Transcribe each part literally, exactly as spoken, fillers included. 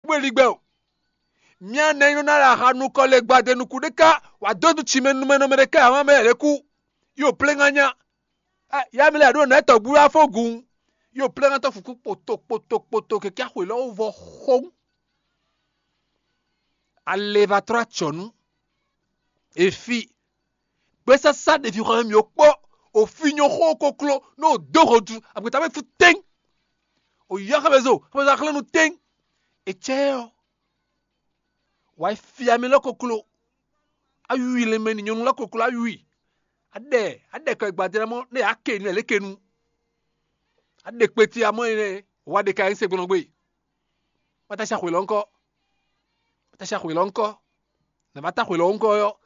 kpó eligbɛ o. Mía nɛ́ nɔ ná ɖo aha nukɔn lɛ gbadenu kú ɖé ká, wǎ dó nú tsimɛ numɛnumɛ ɖé ká ǎ mɛ lɛ́ kú. Yo plé ŋá nya. Yá mi lɛ ɖo nɛ tɔgbu wá fó gun. Yo plé ŋá tɔ́ fukú kpoto kpoto kpoto kɛkɛ xwe lɔ vɔ xó. Ale va trɔ acɔnu. Efi. Gbesasa ɖevi xɔ mɛ mǐ kpɔ. Ofi nyɔ xó koklo nɔ dó hɔntu agbeta mɛ fu tɛn. Oyɔ xɛmɛzo xɛmɛzo axlɛnu tɛn. Etsɛ ɔ. Wǎ yi fia mɛ lɔ koklo. Awi le mɛ ni nyɔnu lɔ koklo awi. Aɖɛ aɖɛ kɔ gbadé mɔ ne yà ke nu ɛlɛ ke nu. Aɖe kpeti amɔ yi nɛ. Wa ɖe ka yi se gbɔnɔ gbe. Wata sa xwe lɔ ŋkɔ. Wata sa xwe lɔ ŋkɔ. Nɛ ma ta xwe lɔ ŋkɔ yɔ.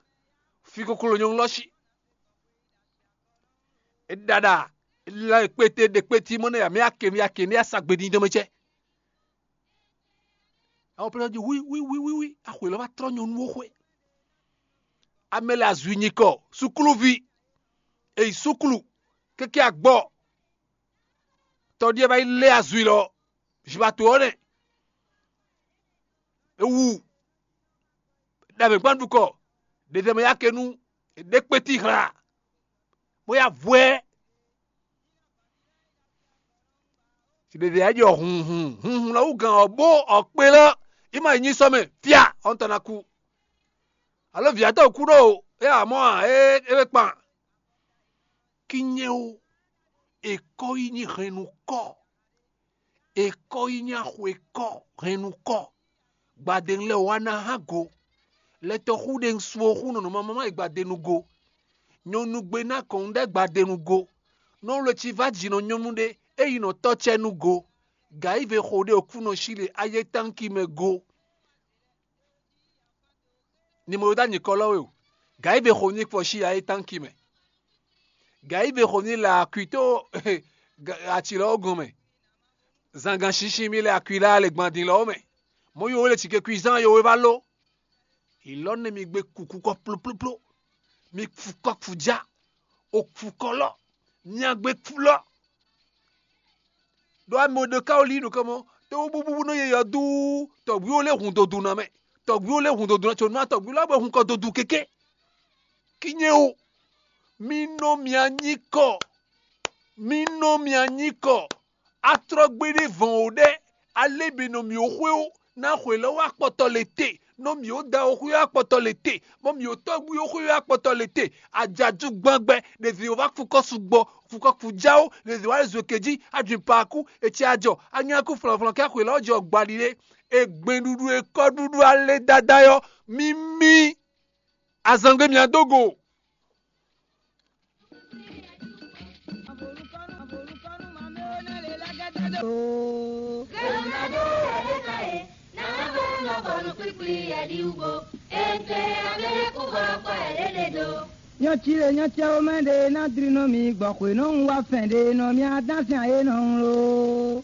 Fi koklo nyɔnu lɔ si. E ɖaɖa. E la kpete ɖe kpeti mɔ ne yà mɛ ake mi ake ne yà sa gbe din dɔmɛ cɛ. Awo plɛ jí wí wí wí wí wí. Axwe lɔ va trɔ nyɔnu wo xwe. Amɛ le azui nyikɔ sukluvi. Eyi suklu. Keke agbɔ. Tɔɖiɛ va yi lé azui lɔ. Zibato ɔ́ nɛ. Ewu. Ɖa mɛ gbán ɖukɔ. Ɖe tɛ mɛ ya ke nu. Ɖe kpeti hla. Bó ya vwɛ. Siɖeɖe ya jɔ hunhun hunhun lɔ wú gan ɔ́ bó ɔkpe lɔ. Ima yi nyi sɔmɛ fia ɔntɔ na ku. Alo viatɔ kú ɖo. E amɔ a e e kpan. Kinyɛ o. Ekɔ yi nyi hɛnnu kɔ. Ekɔ yi nyi axwe kɔ hɛnnu kɔ. Gbadenu lɛ wá ná hán go. Lɛtɔxú ɖe un su oxú nɔnɔmɛ mama yi gbadenu go. Nyɔnu gbe ná kɔn ɖe gbadenu go. Nɔ wle ci va jǐnɔ nyɔnu ɖé, eyi nɔ tɔ́ cɛ nu go. Gǎyive xo ɖé okúnɔ sí ɖe ayé tánki mɛ go. Ni mo ɖo dó anyǐkɔ lɔ we o. Gǎyive xo ní kpɔ sí ayé tánki mɛ. Gǎyive xo ní lɛ akwitó aci lɔ gɔn mɛ. Zangán shinshi mi lɛ akwi lɛ alɛgbandin lɔ mɛ. Mɔ yo le cike kwi zan yo we va lo. Ilɔ ne mi gbe kuku kɔ ploploplo. Mi fu kɔ fu ja. O fu kɔ lɔ. Nya gbe fu lɔ. Ɖo amɛ ɖo ka woli nukɔn mɔ. Te wo bubu nɔ ye yɔ duu. Tɔgbiwo le hun dodu na mɛ. Tɔgbiwo le hun dodu na tso nua tɔgbiwo la bɔ hun kɔ dodu keke. Kinye o. Mi nɔ mia nyi kɔ. Mi nɔ mia nyi kɔ. Atrɔgbe ɖé vɔn o ɖɛ. Ale be nɔ mi o xwe o. Na xwe lɔ wa kpɔtɔ le te. Nɔ mi o da o xwe wa kpɔtɔ le te. Mɔ mi o tɔgbi o xwe wa kpɔtɔ le te. Ajadu gbangbe ɖevi o va fukɔ sugbɔ. Fukɔ kujawo ɖevi wa zwe keji. Adwin paku. Etsɛ ajɔ. Anyaku flɔnflɔn kɛ xwe lɔ jɔ gbali ɖe. Egbeɖuɖu ekɔɖuɖu ale dada yɔ. Mimi. Azangbe mia do go. Nyɔtsi le nyɔtsi awo mɛ ɖe ná dri nɔ mi gbɔ xwe nɔ un wá fɛn ɖe nɔ mi adán sin ayé nɔ un lo.